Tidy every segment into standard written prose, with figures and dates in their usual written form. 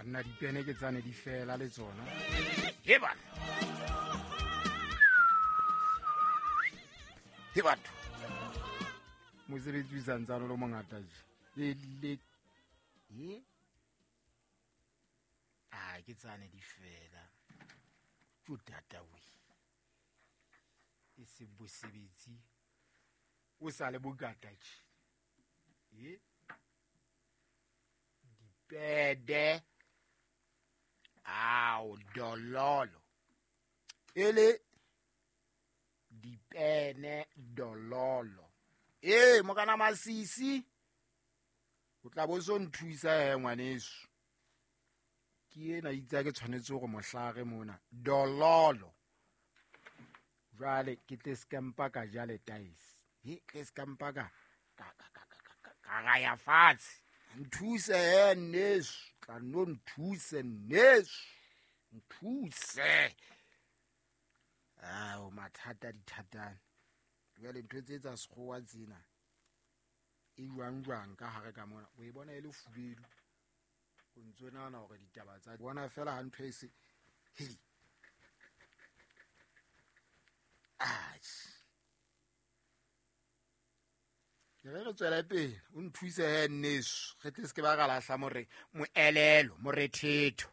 Banna, dipene ke tsane di fela le tsona. He bana, he batho, mosebetsi o santsane o le mongata je le e a ke tsane di fela. Tjo tata we, e se bosebetsi o sa le bokata tje. E dipede ao dololo ele dipene dololo. Ee, mokana masisi o tla bo so nthusa he ngwaneso. Ke ena itse ke tshwanetse gore mohlare mona dololo. Jwale ke tle skampa ka ja letaese. He tle skampa ka ka ka ya fatshe. Nthuse he nneso, tla no nthuse nneso, nthuse. Ao mathata dithatane. Jwale ntho tse tsa sekgowa tsena e jwang jwang ka hare ka mona, o e bona e le fubedu, o ntso nahana hore ditaba tsa bona fela ha ntho e se hei. Atjhe, ke re tswele pele o nthuse he nneso, re tle se ke ba ra lahla more moelelo morethetho.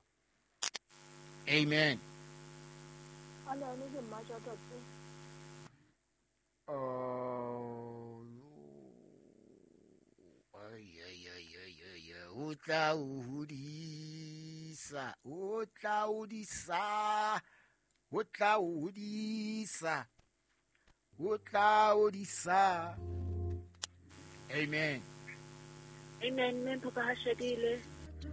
Amen. Oh, o tla o hodisa, o tla hodisa, o tla hodisa, o tla hodisa. Amen. Amen. Mme Papa ha shadile.